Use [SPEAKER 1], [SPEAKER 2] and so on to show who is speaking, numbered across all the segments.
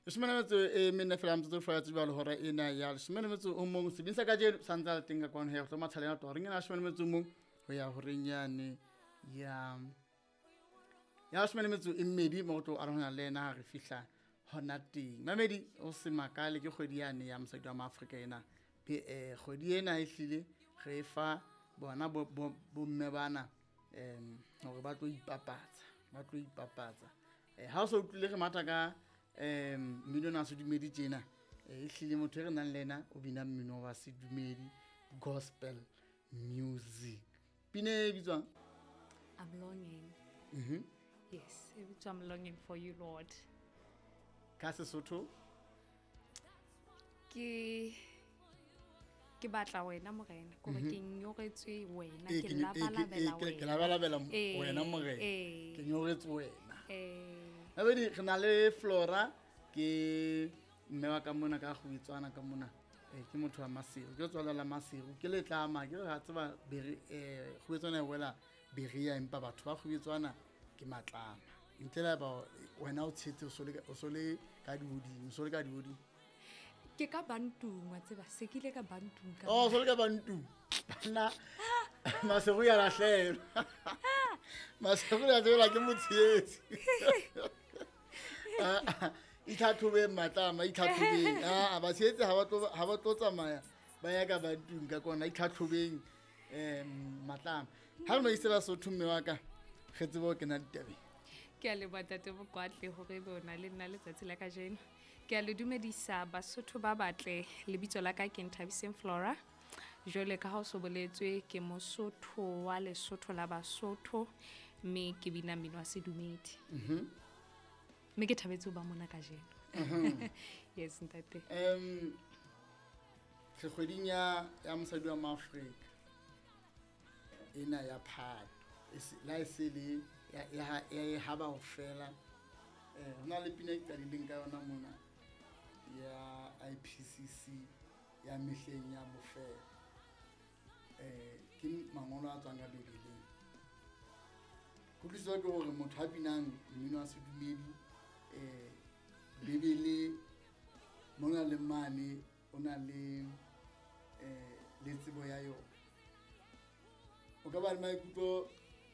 [SPEAKER 1] 14 fela metsotso fela tseba le hora ena ya 11. Sebini sa kajeno sa ntse a le teng ka kwano he go tlo mathaleng a tloga reng ena 11 ho ya horeng yane ya 12 mo go tlo arohana le ena ha re fihla hona teng. Mamedi o se makale ke kgwedi yane ya mosadi wa Maafrika ena. Kgwedi ena e hlile re fa bona bomme bana hore ba tlo ipapatsa, ba tlo ipapatsa. Ha o so utlwile re matha ka mmino ona wa sedumedi tjena, e hlile motho e re nang le ena o bina mmino wa sedumedi, gospel music. Pina e bitswang?
[SPEAKER 2] I'm longing. Yes, e bitswa I'm longing for you, Lord.
[SPEAKER 1] Ka Sesotho?
[SPEAKER 2] Ke batla wena morena, ke hore ke nyoretswe wena, ke labalabela wena.
[SPEAKER 1] Ke labalabela wena morena. Ke nyoretswe wena. Babedi re na le Flora, ke mme wa ka mona ka Kgubitswana ka mona. Ke motho wa Maseru, ke tswala la Maseru, ke letlama, ke re ha tseba Kgubitswana e wela Berea, empa batho ba Kgubitswana ke matlama. Ntle le ba wena o tshetse o so le ka dihodimo, o so le ka dihodimo.
[SPEAKER 2] Ke ka Bantung, wa tseba, se ke ile ka Bantung ka
[SPEAKER 1] Oh, so le ka Bantung. Nna Maseru ya lahlehelwa. Maseru ya tseba ke motshehetsi. Itlhatlhobeng matlama, itlhatlhobeng. Batshehetsi ha ba tlo tsamaya ba ya ka Bantung ka kona, itlhatlhobeng, matlama. Ha re no ise Basotho mme wa ka, re tsebe ho kena ditabeng.
[SPEAKER 2] Ke a leboha Ntate Mokoatle hore ebe o na le nna letsatsi la kajeno. Ke a le dumedisa Basotho ba batle, lebitso la ka ke Nthabiseng Flora. Jwale ka ha o so boletswe, ke Mosotho wa Lesotho la Basotho, mme ke bina mmino wa sedumedi. Mme ke thabetse ho ba mona kajeno. Yes, ntate.
[SPEAKER 1] Re kgweding ya mosadi wa Maafrika ena ya Phato. La e se le ya e haba ho fela. Ho na le pina e qadileng ka yona mona ya IPCC ya mehleng ya bofelo. Ke mangolo a tswang ka Bibeleng. Kutlwisiso ke hore motho a binang mmino wa sedumedi, Bibele mona le mane o na le tsebo ya yona. O ka ba le maikutlo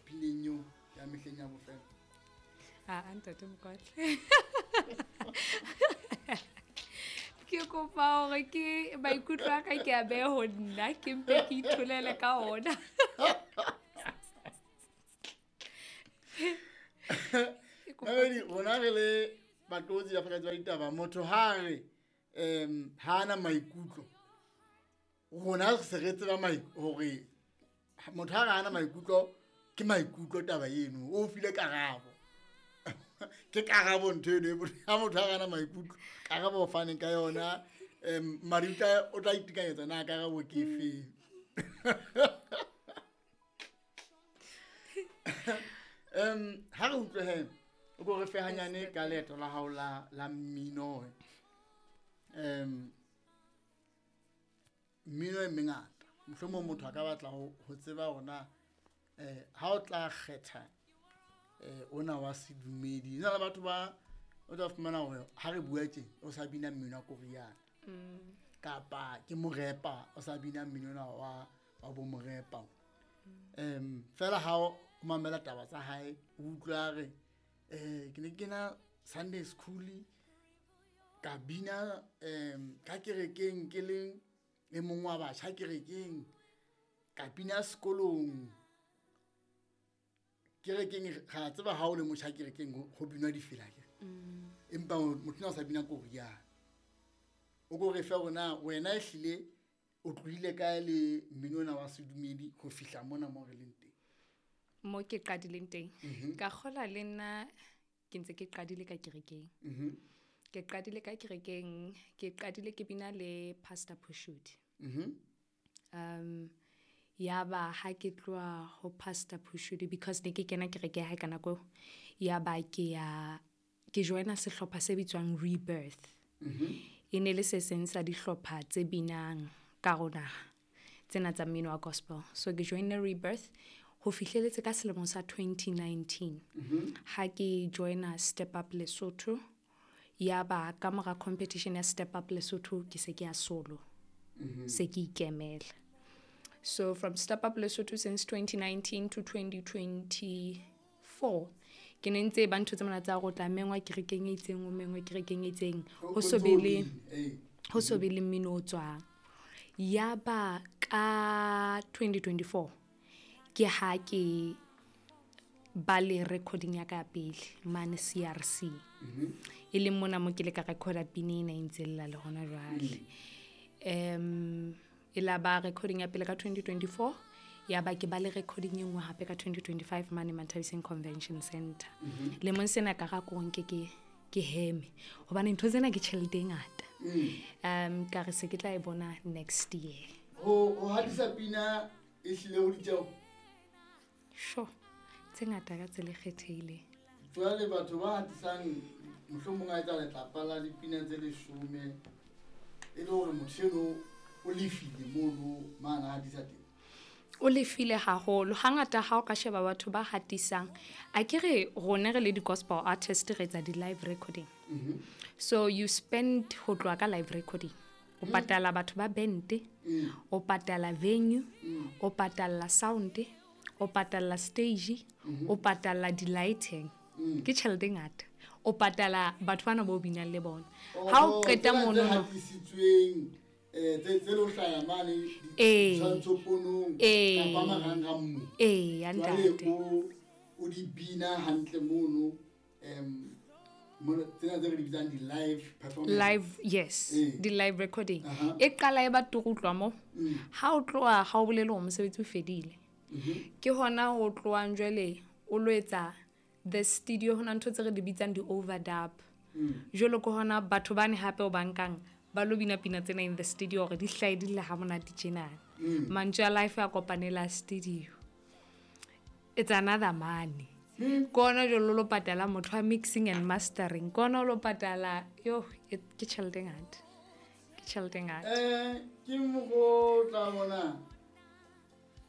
[SPEAKER 1] pineng eo ya mehleng ya bofelo?
[SPEAKER 2] Ah, Ntate Mokoatle. Ke kopa hore ke maikutlo a ka ke a behe ho nna, ke mpe ke itholele ka ona.
[SPEAKER 1] Mamedi, rona re le batlotsi ba phatlalatsi ba ditaba, motho ha re, ha ana maikutlo, rona re se re tseba hore motho ha re ana maikutlo, ke maikutlo taba eno, o file karabo. Ke karabo ntho eno, ha motho ha re ana maikutlo, karabo o faneng ka yona, madi o tla itekanyetsa na karabo ke efeng. Ha re utlwe he, o ko re fe hanyane ka leeto la hao la mmino. Mmino e mengata. Mohlomong motho a ka batla ho tseba hore na, ha o tla kgetha, ona wa sedumedi. Hona le batho ba o tla fumana hore ha re bua tje, o sa bina mmino wa koriana. Kapa ke morepa, o sa bina mmino ona wa bo morepa. Fela ha o mamela taba tsa hae, o utlwa re, ke ne ke kena Sunday school, ka bina, ka kerekeng ke le e mong wa batjha kerekeng, ka bina sekolong. Kerekeng, ra tseba ha o le motjha kerekeng ho binwa difela ke. Empa motho o sa bina koriana. O ko re fe hore na wena ehlile o tlohile kae le mmino ona wa sedumedi ho fihla mona mo re leng teng?
[SPEAKER 2] Mo ke qadileng teng. Ka kgola le nna ke ntse ke qadile ka kerekeng. Ke qadile ka kerekeng, ke qadile ke bina le Pastor Phushudi. Ya ba ha ke tloha ho Pastor Phushudi, because ne ke kena kereke ya hae ka nako eo, ya ba ke ya, ke joina sehlopha se bitswang Rebirth. E ne le se seng sa dihlopha tse binang ka rona tsena tsa mmino wa gospel. So ke joinne Rebirth ho fihleletse ka selemo sa 2019. Ha ke joina Step Up Lesotho, Ya ba ka mora competition ya Step Up Lesotho ke se ke ya solo. Se ke ikemela. So from Step Up Lesotho since 2019 to 2024 ke ne ntse ba ntho tse mona tsa go tla mengwa kerekeng e itseng, o mengwe kerekeng e itseng, ho so be le ho so be le mmino o tswang. Ya ba ka 2024 ke ha ke ba le recording ya ka ya pele mane CRC, e leng mona mo ke le ka recorda pina ena e ntse lla le hona jwale. E la ba recording ya pele ka 2024, ya ba ke ba le recording e nngwe hape ka 2025 mane Manthabiseng Convention Center. Lemong sena ka ga ko nke ke heme hobane ntho tsena ke tjhelete e ngata. Ka re se ke tla e bona next year.
[SPEAKER 1] Ho hatisa pina e hlile ho ditjeo?
[SPEAKER 2] Sure, tse ngata ka tsela e kgethehileng.
[SPEAKER 1] Jwale batho ba hatisang mohlomong a etsa letlapa la dipina tse 10, e le hore motho eno o lefile mono mane a hatisa teng?
[SPEAKER 2] O lefile haholo. Hangata ha o ka sheba batho ba hatisang, a ke re rona re le di-gospel artist re etsa di-live recording. So you spend ho tloha ka live recording. O patala batho ba band, o patala venue, o patala sound, o patala stage, o patala di-lighting. Ke tjhelete e ngata. O patala batho bana bo binang le bona. Ha o qeta
[SPEAKER 1] Tsena tse
[SPEAKER 2] mono no.
[SPEAKER 1] hatisitsweng, tse lo hlaya mane ditshwantshoponong kapa marangrang mo.
[SPEAKER 2] Ya
[SPEAKER 1] Jwale
[SPEAKER 2] ntate.
[SPEAKER 1] o di bina hantle mono, mono tsena tse re di bitsang di-live performance.
[SPEAKER 2] Live, yes, di-live recording. E qala e ba turu ho tloha moo. Ha o tloha, ha o bolele hore mosebetsi o fedile. Ke hona ho tlohang jwale o lo etsa the studio, hona ntho tse re di bitsang di-overdub. Jwalo ke hona batho bane hape o ba nkang ba lo bina pina tsena in the studio hore di hlahe di lle ha monate tjena. Mantswe a life a kopanela studio. It's another money. Ke hona jwale o lo patala motho wa mixing and mastering. Ke hona o lo patala, yo, ke tjhelete e ngata. Ke tjhelete e ngata.
[SPEAKER 1] Ke mokgwa o tla bona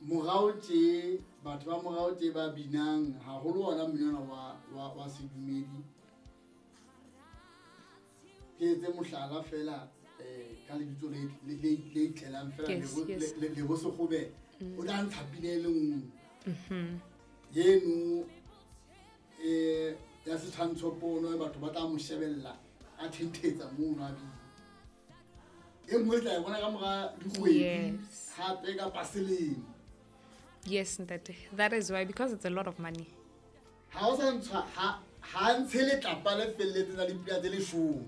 [SPEAKER 1] morao tje, batho ba morao tje ba binang haholo ona mmino ona wa sedumedi. Ke etse mohlala fela, ka lebitso le itlelang fela,
[SPEAKER 2] Yes, yes.
[SPEAKER 1] Lebo Sekgobe. O tla ntsha pina e le nngwe. Eno, ya setshwantshopono, batho ba tla mo shebella a thentetsa mono a bina. E nngwe e tla e bona ka mora dikgwedi, hape kapa selemo.
[SPEAKER 2] Yes, ntate. That is why, because it's a lot of money.
[SPEAKER 1] Ha o sa ntshwa, ha ntshe letlapa le felletseng la dipina tse 10.